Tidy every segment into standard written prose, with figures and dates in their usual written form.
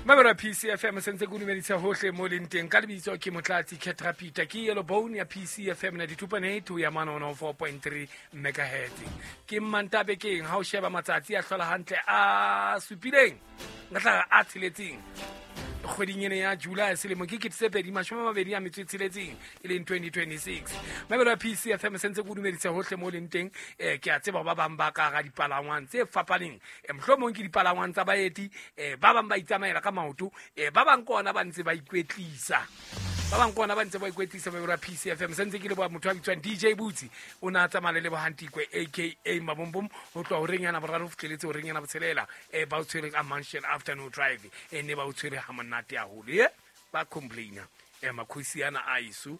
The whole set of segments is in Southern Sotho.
Mamelo ya PCFM se ntse ke o dumedisa hohle mo leng teng ka lebitso ke Motlatsi Ketrapita ke Yellow Bone ya PCFM 92.8 ho ya mane 104.3 megahertz. Ke Mmantabe keng ha o sheba matsatsi a hlola hantle a supileng nka tla a tsheletseng kgweding ene ya July selemo ke 2026 e leng 2026. Mamelo ya PCFM se ntse ke o dumedisa hohle mo leng teng. Ke a tseba ba bang ba ka hara dipalangwang tse fapaneng, mohlomong ke dipalangwang tsa baeti, ba bang ba itsamaela ka maoto, ba bang ke ona ba ntse ba ikwetlisa, ba bang ke ona ba ntse ba ikwetlisa. Mamelo ya PCFM se ntse ke leboha motho a bitswang DJ Butsi, o ne a tsamaya le Lebohantikwe aka Mabombom ho tloha horeng yana boraro ho fihleletse horeng yana botshelela. Ba o tshwere ka Mansion Afternoon Drive, ne ba o tshwere ha monate haholo. Ba complaina makhosi ana a iso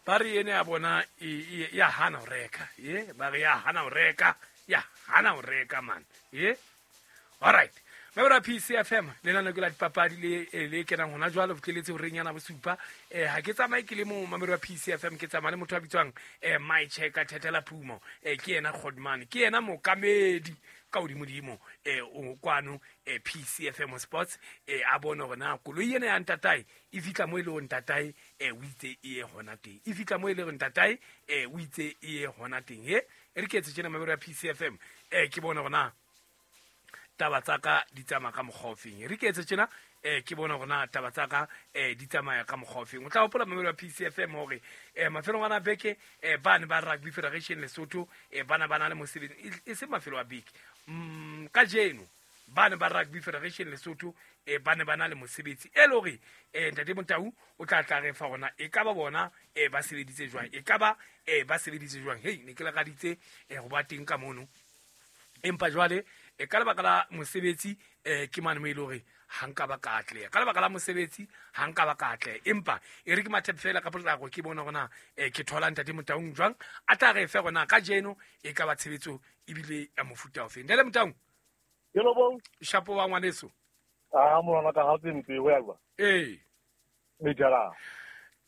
ba re ene ya bona ya hana ho reka, ba re ya hana ho reka, ya hana ho reka man. All right, Mebra PCFM lenaneo ke la dipapadi le le kenang hona jwale ho fihleletse horeng yana bosupa. Ha ke tsamaye ke le mo mamelo ya PCFM, ke tsamaya le motho a bitswang My Checker Thethela Phumo. Ke yena Godman, ke yena mokamedi ka hodimodimo o kwano PCFM Sports. A bone hore na koloi ena ya ntatae e fihla mo e le hore ntatae o itse e ye hona teng, e fihla mo e le hore ntatae o itse e ye hona teng. E re ke etse tjena mamelo ya PCFM, ke bone hore na taba tsa ka di tsamaya ka mokgwa o feng. Re ke etse tjena, ke bone hore na taba tsa ka di tsamaya ka mokgwa o feng. O tla hopola mamelo ya PCFM hore mafelong ana beke bane ba Rugby Federation Lesotho bana ba na le mosebetsi, e se mafelo a beke, kajeno bane ba Rugby Federation Lesotho ba ne ba na le mosebetsi e le hore ntate Motau o tla tla re fa rona e ka ba bona ba sebeditse jwang, e ka ba ba sebeditse jwang. Hei, ne ke lakaditse ho ba teng ka mono, empa jwale ka lebaka la mosebetsi ke mane mo e le hore ha nka ba ka atleha, ka lebaka la mosebetsi ha nka ba ka atleha. Empa e re ke mathe fela ka potlako ke bona hore na ke thola ntate Motaung jwang a tla re fe hore na kajeno e ka ba tshebetso ebile ya mofuta ofeng. Ntate Motaung, Hello bong. Shapo wa ngwaneso. Ah, molwana ka ha tse ho ya jwa. Ee. Me jara.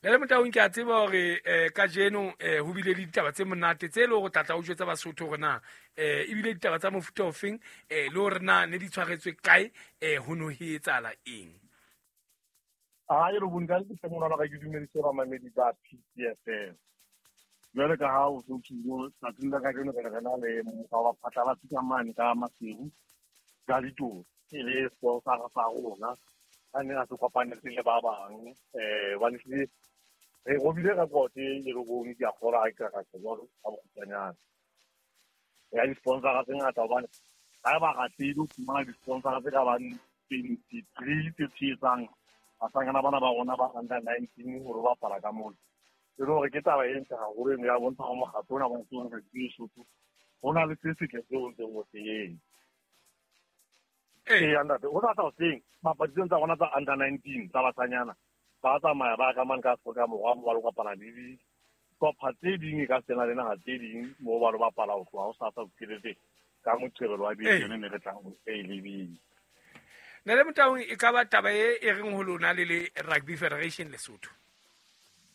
Ntate Motaung, ke a tseba hore kajeno ho bile le ditaba tse monate tse le hore tlatla o jwetsa Basotho hore na ebile ditaba tsa mofuta ofeng, le hore na ne di tshwaretswe kae, ho no ho etsahala eng. Ah, e re bong ka ke molwana ka ke dumedise ba mamedi ba PCFM. Jwale ka ha o so tshilo tsatsing la kajeno re na le mokgwa wa phatlalatsi ka mane ka Maseru ka ditoro e le sponsor sa rona a ne a se kopanetse le ba bang, ba hlile re robile record e re bone ke a kgolwa ha ke ka tjho jwalo ka bokgutshwanyane ya di-sponsora tse ngata, hobane ha ba ratile ho fumana di-sponsora tse ka bang 23 tse tshehetsang basangana bana ba rona ba under 19 hore ba bapala ka mona. E le hore ke taba e ntle haholo eno ya bontsha hore mokgatlo ona wa Rugby Lesotho ho na le se setle seo o ntseng o se etsa. Ee, ntate, ho sa hoseng papadi tseno tsa rona tsa under 19 tsa basanyana ba tsamaya ba ka mane ka Afrika Borwa mo ba lo kopana le dihlopha tse ding e ka sena le naha tse ding mo ba lo bapala ho tloha ho sasa ho fihleletse ka Moqebelo wa beke yone ne re tlang ho e lebile. Ntate Motaung, e ka ba taba e e reng ho lona le le Rugby Federation Lesotho?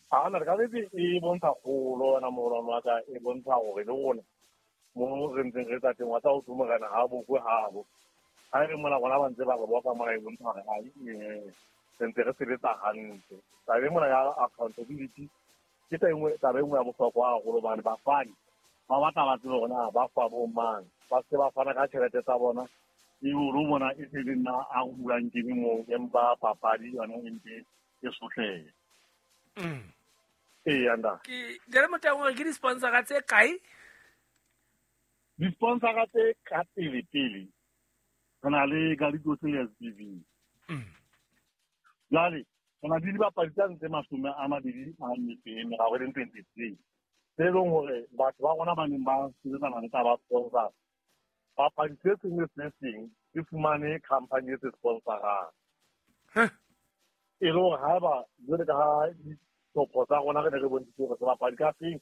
A na re ka betse e bontsha kgolo wena moholwane wa ka, e bontsha hore le rona mo re ntseng re tsa teng wa tsa ho morena ha bokwe habo ha re mona rona ba ntse ba re boka mona, e bontsha hore hai, re ntse re sebetsa hantle. Taba e mona ya accountability ke taba e nngwe ya bohlokwa haholo, hobane bafani ba batla ba tsebe hore na ba fa bo mang, ba se ba fana ka tjhelete tsa bona e o bona e se le nna a hulang ke moo, empa papadi yona e ntse e sotleha. Ee, anda. Ke Ntate Motaung, hore ke di-sponsora tse kae? Di-sponsora tse ka pele pele re na le Galitos le SBV. Jwale re na le dibapadi tsa ntse 23 e leng 23 tse e leng hore batho ba rona ba neng ba sebetsana le taba sponsor papadi se seng le se seng se fumane company e se sponsorang, e le hore haeba jwale ka ha dihlopho tsa rona re ne re bontshitse hore sebapadi ka seng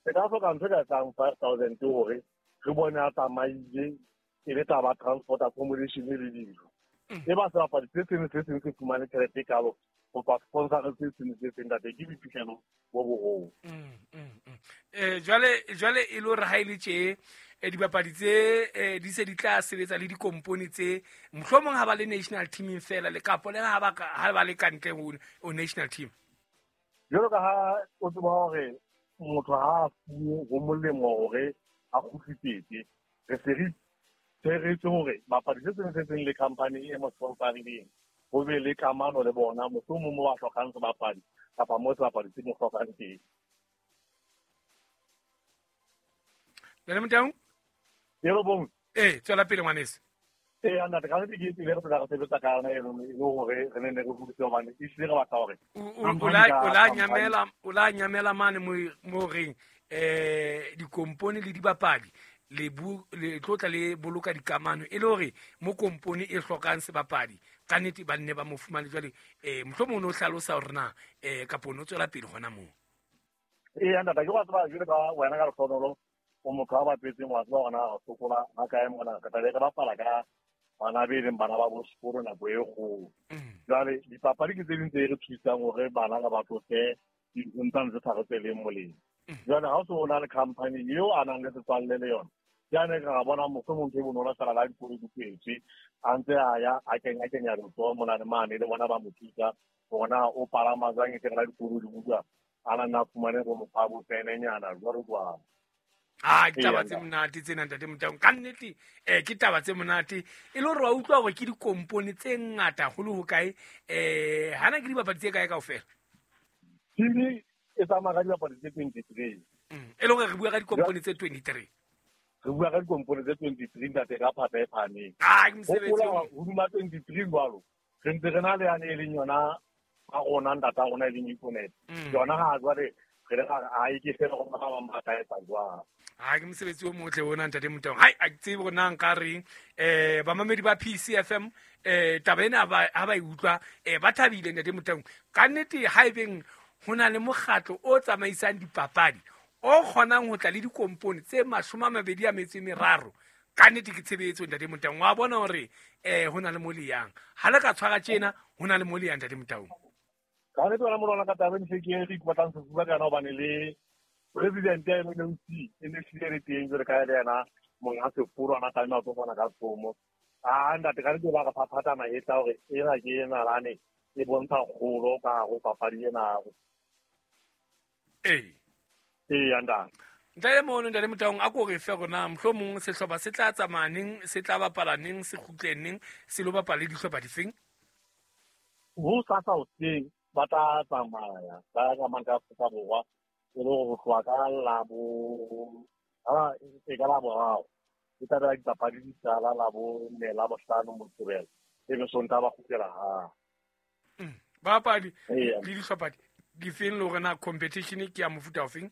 se ka hloka ntho e ka etsang 5,000 hore re bone a tsamaile e le taba transport, accommodation le dijo, e ba sebapadi se seng le se seng se fumane tjhelete e kalo. Go tswa sponsor se sengwe se seng, ntate, ke boiphihlelo bo bogolo. Jwale e le hore ha e le tje dibapadi tse di se di tla sebetsa le dikompone tse, mohlomong ha ba le national teaming fela le kapo le ha ba le kantle ho national team. Jwalo ka ha o tseba hore motho ha a fuwe ho molemo hore a kgutlisetse, re se re tshweretse hore bapadi se seng se seng le company e mo sponsorileng ho be le kamano le bona, mohlomong mo ba hlokang sebapadi kapa mo sebapadi se mo hlokang teng. Ntate Motaung? Yebo, bong. Ee, tswela pele ngwaneso. Ee, ntate, ka nnete ke tsela e re phela re sebetsa ka yona eno, e le hore re ne re hodise hobane ehlile re batla hore O la nyamela mane mo reng dikompone le dibapadi le tlo tla le boloka dikamano e le hore mo kompone e hlokang sebapadi ka nnete ba nne ba mo fumane. Jwale mohlomong o no hlalosa hore na kapa o no tswela pele hona moo. Ee, ntate, ke wa tseba jwale ka wena ka lehlohonolo o motho a bapetseng, wa tseba hore na re sokola ha kae mona, re tlabe re bapala ka bana be leng bana ba bo sekolo nako e kgolo. Jwale dipapadi ke tse ding tse re thusang hore bana re ba tlose dinthong tsane tse sa re tsweleng molemo. Jwale ha o se o na le company eo a nang le setswalle le yona, jane re ra bona mohlomong ntho e bonolo fela la dikolo di kwetswe, a ntse a ya a kenya kenya letsoho mona le mane, le bona ba mo thusa hore na o palama jwang, e tle re la dikolo di bulwa a na nna a fumane bo mokgwa bo penenyana jwalo jwalo. A ke taba tse monate tsena, ntate Motaung, ka nnete. Ke taba tse monate e le hore wa utlwa hore ke dikompone tse ngata holo ho kae. Hana ke dibapadi tse kae kaofela? Team e tsamaya ka dibapadi tse 23. E le hore re bua ka dikompone tse 23. Re bua ka dikompone tse 23, ntate, ka phata e phahameng. A ke mosebetsi. Hopola hodima 23 jwalo re ntse re na le yane e leng yona a rona, ntata rona, e leng Econet. Yona ha jwale re le a e ke fela go ba bang ba tla etsa jwang. A ke mosebetsi o motle ona, ntate Motaung. Hai, a ke tsebe hore na nka reng. Bamamedi ba PCFM, taba ena ha ba e utlwa ba thabile, ntate Motaung. Ka nnete ha ebeng ho na le mokgatlo o tsamaisang dipapadi o kgonang ho tla le dikompone tse 23, ka nnete ke tshebetso, ntate Motaung. Wa bona hore ho na le mo le yang ha le ka tshwara tjena, ho na le mo le yang, ntate Motaung. Ka nnete wena molwana ka taba e ke re ipatlang sefuba ka yona, hobane le president ya NLC e ne hlile le teng jwale ka le yena monga seforo ana tlameha ho tlo fana ka tsomo. A ntate, ka nnete ba re phaphatha mahetla hore ena ke nalane e bontsha kgolo ka hare ho papadi ena. Ee. Ee, ntate. Ntate mono, ntate Motaung, a ko re fe rona mohlomong sehlopha se tla tsamaya neng, se tla bapala neng, se kgutle neng, se lo bapala le dihlopha difeng? Ho sasa hoseng ba tla tsamaya ba ya ka mane ka Afrika Borwa, e le hore ho tloha ka labo e ka Laboraro e tla bela dipapadi di qala Labone, Labohlano, Moqebelo, e be Sontaha ba kgutlela hae. Bapadi le dihlopha difeng, le hore na competition ke ya mofuta ofeng?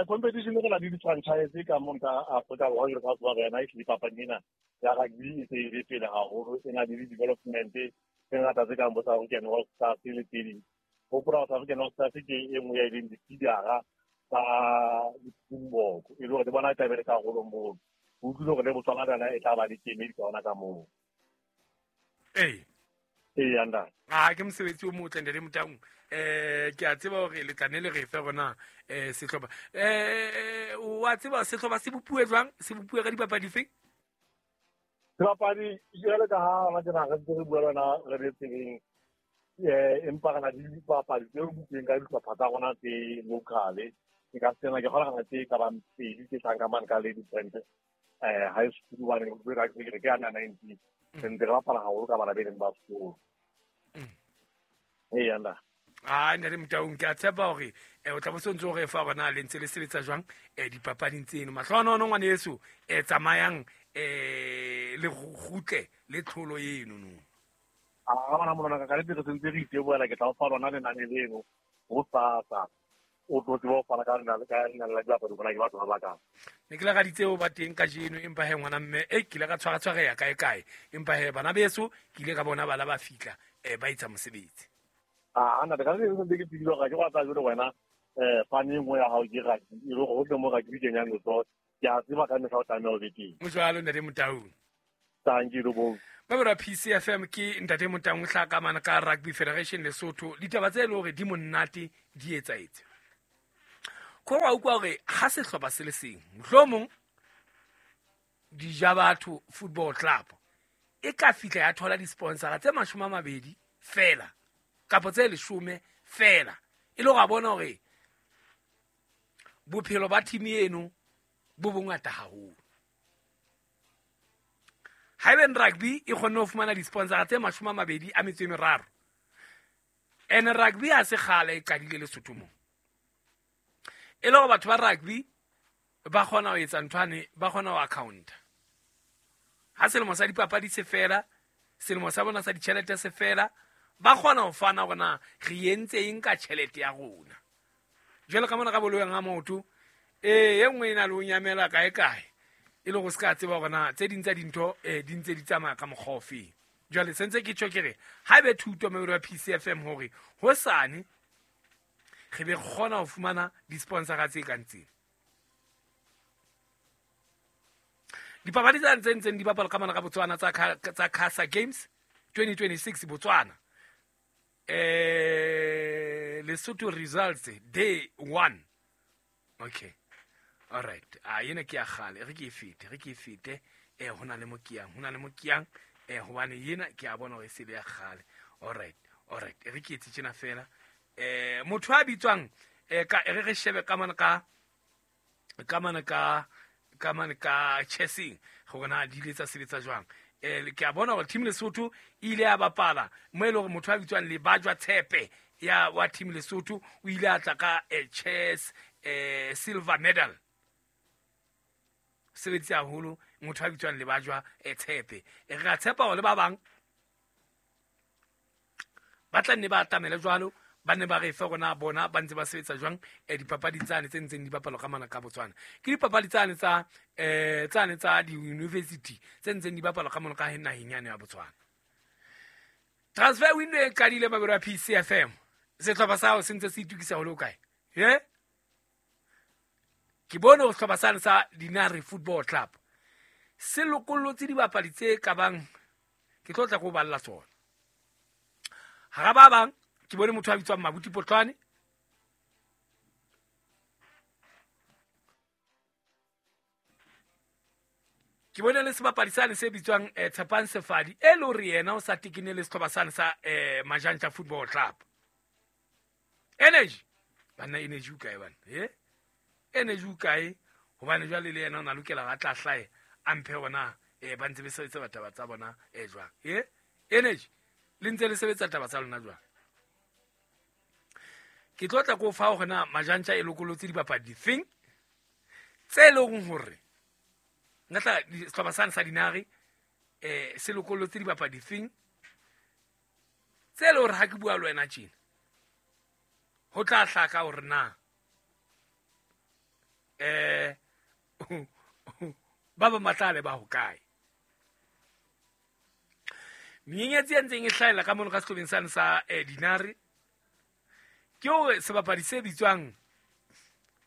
Competition re na le di-franchise ka mona ka Afrika Borwa, jwalo ka tseba rena ehlile papadi ena ya rugby e se e le pele haholo, e na le di-development tse ngata tse kang bo South African All Stars le tse ding. Hopola South African All Stars ke e nngwe ya e leng di-feedera tsa di-Springbok, e le hore le bona e tla be le karolo moo. O utlwile hore le Botswana le yona e tla ba le kemedi ka ona ka moo. Ee. Ee, ntate. A ke mosebetsi o motle, ntate Motaung. Ke a tseba hore le tla ne le re fe rona sehlopha. Wa tseba sehlopha se bopuwe jwang? Se bopuwe ka dipapadi feng? Sebapadi jwale ka ha hona tjena re ntse re bua le wena re le tseleng, empa re na le dipapadi tse butsweng ka dihlopha tsa rona tse local. Ke ka sena ke kgona tse ka bang pedi tse tlang ka mane ka Lady Brand high school, hobane re ke under 19, re ntse re bapala haholo ka bana be leng ba sekolo. Ee, ntate. A ntate Motaung, ke a tshepa hore o tla bo se ntse o re fa hore na le ntse le sebetsa jwang dipapading tseno. Mahlohonolo ngwaneso, tsamayang le kgutle le tlholo eno no. A bana monana ka nnete re sentse re itebohela, ke tla o fa lona lenane leno ho sasa, o tlo tseba ho fana ka lenane la dibapadi bona ke batho ba bakae. Ne ke lakaditse ho ba teng kajeno, empa he ngwana mme e ke ile ka tshwaratshwareha kae kae, empa he bana beso ke ile ka bona bana ba fihla ba etsa mosebetsi. A ntate, ka nnete sentse ke tsebile hore ke go tsa jwale wena fane e nngwe ya hao ke rugby, e le hore hohle mo rugby kenyang letsoho, ke a tseba ka mehla o tlameha o be teng. Ho jwalo, ntate Motaung. Thank you, bo. Ba PCFM ke ntate Motaung hlaka mana ka Rugby Federation Lesotho ditaba tse le hore di monate di etsaetse. Ko wa utlwa hore ha sehlopha se le seng mohlomong Dijabatho Football Club e ka fihla ya thola di-sponsora tse 20 fela kapa tse 10 fela e le go bona hore bophelo ba team eno bo bongata haholo. Haeben rugby e kgonne ho fumana di-sponsora tse 23 ene rugby ha se kgale e qadile Lesotho mo e le gore batho ba rugby ba kgona ho etsa nthwane, ba kgona ho accounta. Ha selemo sa dipapadi se fela, selemo sa bona sa ditjhelete se fela, ba kgona ho fana hore na re entse eng ka tjhelete ya rona. Jwalo ka mona ka boloyang ha motho e nngwe e na le ho nyamela kae kae e le go se ka tseba hore na tse ding tsa dintho di ntse di tsamaya ka mokgwa ofeng. Jwale sentse ke tjho ke re ha ebe thuto mebelo ya PCFM hore hosane re be kgona ho fumana di-sponsora tse kang tsena. Dipapadi tsa ntseng di bapala ka mona ka Botswana tsa Casa Games 2026 Botswana. Lesotho results day 1. Okay. All right. Yena ke ya kgale, re ke e fete. Hona le mo ke yang, hobane yena ke a bona hore e se le ya kgale. All right. Re ke etse tjena fela. Motho a bitswang ka re shebe ka mona ka chessing gore na di ile tsa sebetsa jwang. Ke a bona hore team Lesotho e ile ya bapala mo e le hore motho a bitswang Lebajwa Tshepe ya wa team Lesotho o ile a tla ka chess silver medal. Sebetsi haholo motho a bitswang Lebajwa Tshepe. Re a tshepa hore le ba bang ba tla nne ba atamele jwalo, ba ne ba re fe rona bona ba ntse ba sebetsa jwang dipapadi tsane tse ntseng di bapalwa ka mana ka Botswana. Ke dipapadi tsane tsa tsane tsa di-university tse ntseng di bapalwa ka mona ka naheng yane ya Botswana. Transfer window e qadile mabelo a PCFM. Sehlopha sa hao se ntse se itukisa ho le hokae? Ke bone hore sehlopha sane sa Dinare Football Club se lokollotse dibapadi tse ka bang ke tlo tla ko balla tsona. Hara ba bang ke bone motho a bitswang Mabuti Potlwane, ke bone le sebapadi sane se bitswang Tshepang Sefadi e le hore yena o sa tekene le sehlopha sane sa Majantja Football Club. Energy banna, energy o kae bana? Energy o kae? Hobane jwale le yena o na lokela ga tla hlae a mphe hona ba ntse ba sebetsa bataba tsa bona jwang. Energy le ntse le sebetsa taba tsa lona jwang? Ke tlo tla ko fa hore na Majantja e lokolotse dibapadi difeng tse leng hore nka tla sehlopha sane sa Dinare se lokolotse dibapadi difeng tse leng hore ha ke bua le wena tjena ho tla hlaka hore na ba ba matlale ba hokae. Menyenyetsi e ntseng e hlahella ka mono ka sehlopheng sane sa Dinare ke hore sebapadi se bitswang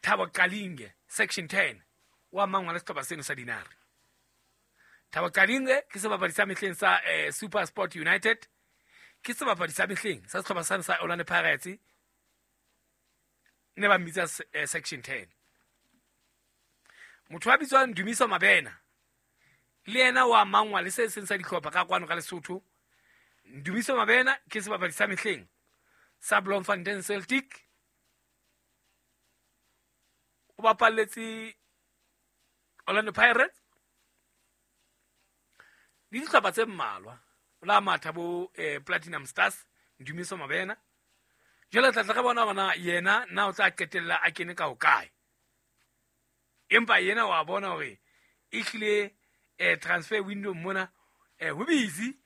Thabo Kalinge section 10 wa mangwa le sehlopha seno sa Dinare. Thabo Kalinge ke sebapadi sa mehleng sa Super Sport United, ke sebapadi sa mehleng sa sehlopha sane sa Orlando Pirates, ne ba mmitsa section 10. Motho a bitswang Dumiso Mabena le yena wa mangwa le se seng sa dihlopha ka kwano ka Lesotho. Dumiso Mabena ke sebapadi sa mehleng sa Bloemfontein Celtic, o bapalletse Orlando Pirates le dihlopha tse mmalwa, o la matha bo Platinum Stars. Dumiso Mabena jwale tla tla re bona hore yena na o tla qetella a kene ka hokae, empa yena wa bona hore ehlile transfer window mona ho busy.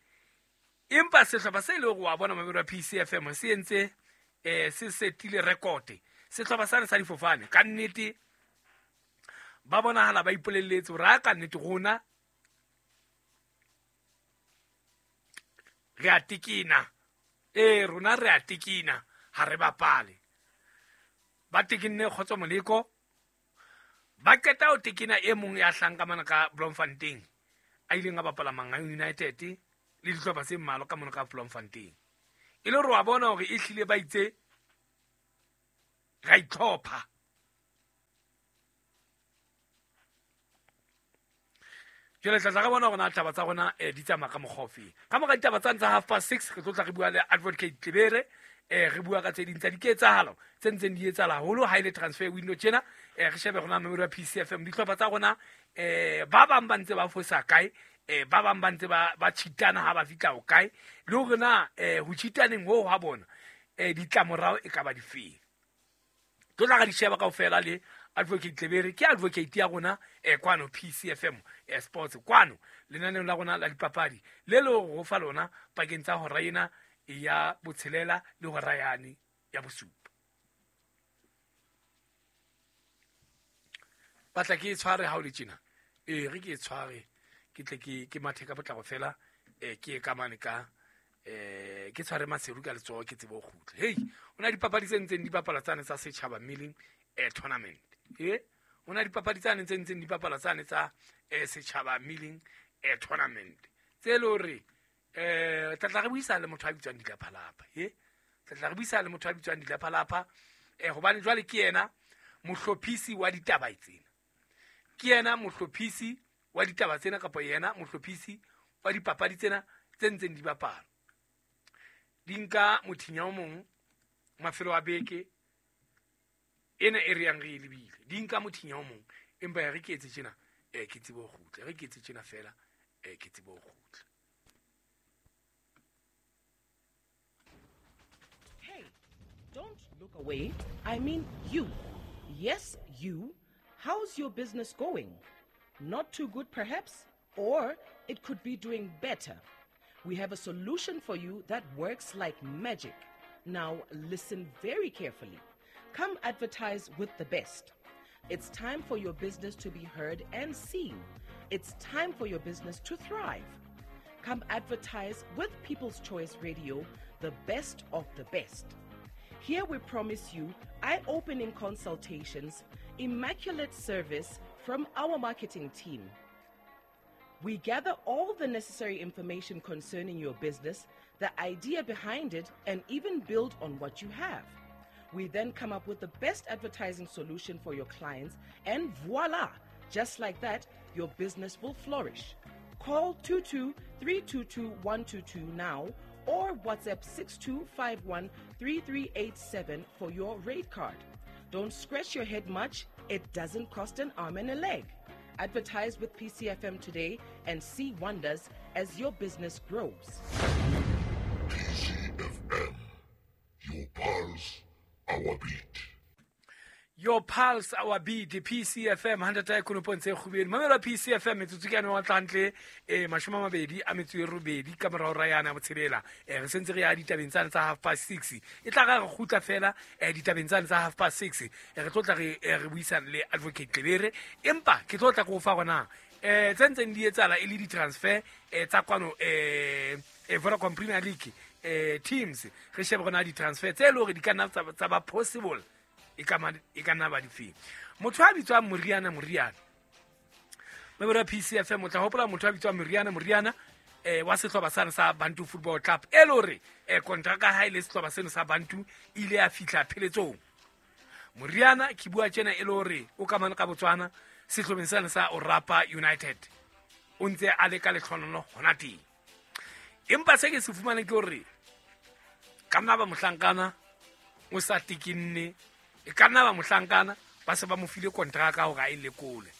Empa sehlopha se le hore wa bona mabelo a PCFM se entse se setile record. Sehlopha sane sa difofane ka nnete ba bonahala ba ipolelletse hore a ka nnete rona re a tekena, rona re a tekena ha re bapale. Ba tekenne Kgotso Moleko, ba qeta ho tekena e mong ya hlang ka mana ka Bloemfontein a ileng a bapala Mangaung United. Le dihlopha tse mmalwa ka mono ka Bloemfontein. E le hore wa bona hore e hlile ba itse ra itlhopha. Jwale tla tla re bona hore na taba tsa rona di tsamaya ka mokgwa ofeng. Ka mora ditaba tsane tsa 6:30 re tlo tla re bua le Advocate Tlebere, re bua ka tse ding tsa diketsahalo tse ntseng di etsahala haholo ha ile transfer window tjena. Re shebe rona memori ya PCFM dihlopha tsa rona, ba bang ba ntse ba fosa kae, ba bang ba ntse ba cheatana ha ba fihla ho kae, le hore na ho cheataneng ho ha bona ditlamorao e ka ba difeng. Tlo tla ra di sheba kaofela le Advocate Tlebere, ke advocate ya rona kwano PCFM Sports, kwano lenaneong la rona la dipapadi le le ho fa lona pakeng tsa hora ena ya botshelela le hora yane ya bosupa. Batla ke e tshware ha o le tjena, re ke e tshware ke tle ke mathe ka potlako fela, ke ye ka mane ka ke tshware Maseru ka letsoho ke tsebe ho kgutla. Hei, ho na dipapadi tse ntseng di bapala tsane tsa setjhaba milling tournament. Ho na dipapadi tsane tse ntseng di bapala tsane tsa setjhaba milling tournament tse le hore tla tla re buisana le motho a bitswang Dilaphalapha. Tla tla re buisana le motho a bitswang Dilaphalapha, hobane jwale ke yena mohlophisi wa ditaba tsena. Ke yena mohlophisi wa ditaba tsena kapa yena mohlophisi wa dipapadi tsena tse ntseng di bapala. Di nka mothinya o mong mafelo a beke ena e re yang re e lebile. Di nka mothinya o mong, empa ya re ke etse tjena, ke tsebe ho kgutla. Re ke etse tjena fela, ke tsebe ho kgutla. Hey, don't look away. I mean you. Yes, you. How's your business going? Not too good perhaps, or it could be doing better. We have a solution for you that works like magic. Now listen very carefully. Come advertise with the best. It's time for your business to be heard and seen. It's time for your business to thrive. Come advertise with People's Choice Radio, the best of the best. Here we promise you eye-opening consultations, immaculate service from our marketing team. We gather all the necessary information concerning your business, the idea behind it, and even build on what you have. We then come up with the best advertising solution for your clients, and voila! Just like that, your business will flourish. Call 22-322-122 now or WhatsApp 6251-3387 for your rate card. Don't scratch your head much. It doesn't cost an arm and a leg. Advertise with PCFM today and see wonders as your business grows. PCFM, your pulse, our beat. Your pulse, our beat, PCFM, 100.7 kgubeng. Mamela PCFM, metsotso ke yane wa tlantle, 28 ka morao ra yana botshelela. Re sentse re ya ditabeng tsane tsa 6:30. E tla re kgutla fela ditabeng tsane tsa 6:30. Re tlo tla re buisana le Advocate Tlebere, empa ke tlo tla go fa gona tse ntseng di etsala e le di-transfer tsa kwano Vodacom Premier League teams. Re shebe gona di-transfer tse e le hore di ka nna tsa ba possible. E ka nna ba difeng. Motho a bitswang Moriana Memori ya PCFM, o tla hopola motho a bitswang Moriana wa sehlopha sane sa Bantu Football Club, e le hore kontraka ha e le sehlopha seno sa Bantu ile ya fihla pheletsong. Moriana ke bua tjena e le hore o ka mane ka Botswana sehlopheng sane sa Orapa United, o ntse a le ka letlhonono hona teng. Empa se ke se fumaneng ke hore ka nna ba mohlankana o sa tikinne, e ka nna ba mohlankana ba se ba mo file kontraka hore a e lekole.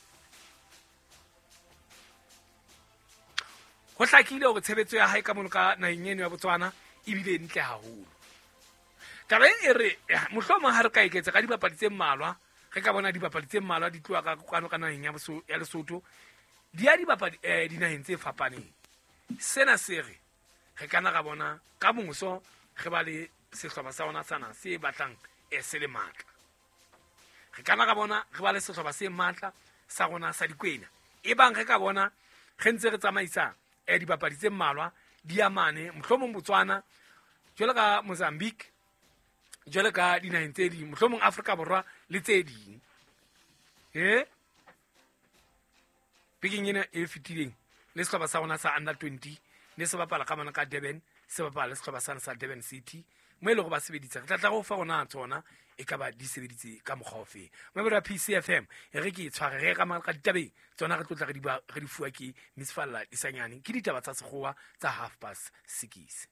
Ho hlakile hore tshebetso ya hae ka mono ka naheng eno ya Botswana ebile e ntle haholo. Taba e re mohlomong ha re ka eketsa ka dibapadi tse mmalwa, re ka bona dibapadi tse mmalwa di tloha ka kwano ka naheng ya Lesotho di ya dibapadi dinaheng tse fapaneng. Sena se re re kana ra bona ka moso re ba le sehlopha sa rona sana se batlang se le matla. Re kana ra bona re ba le sehlopha se matla sa rona sa dikwena. E bang re ka bona re ntse re tsamaisa dibapadi tse mmalwa di ya mane mohlomong Botswana, jwalo ka Mozambique, jwalo ka dinaheng tse ding, mohlomong Afrika Borwa le tse ding. Bekeng ena e fetileng le sehlopha sa rona sa under 20 Ne se bapala ka mane ka Durban, se bapala le sehlopha sane sa Durban City, mo e lego ba sebeditse. Re tla tla go fa gona tsona e ka ba di sebeditse ka mokgwa ofe. Mamedi wa PCFM, e re ke e tshware re ka mane ka ditabeng tsona, re tlotla re di fuwa ke Miss Falla Disanyane, ke ditaba tsa sekgowa tsa 6:30.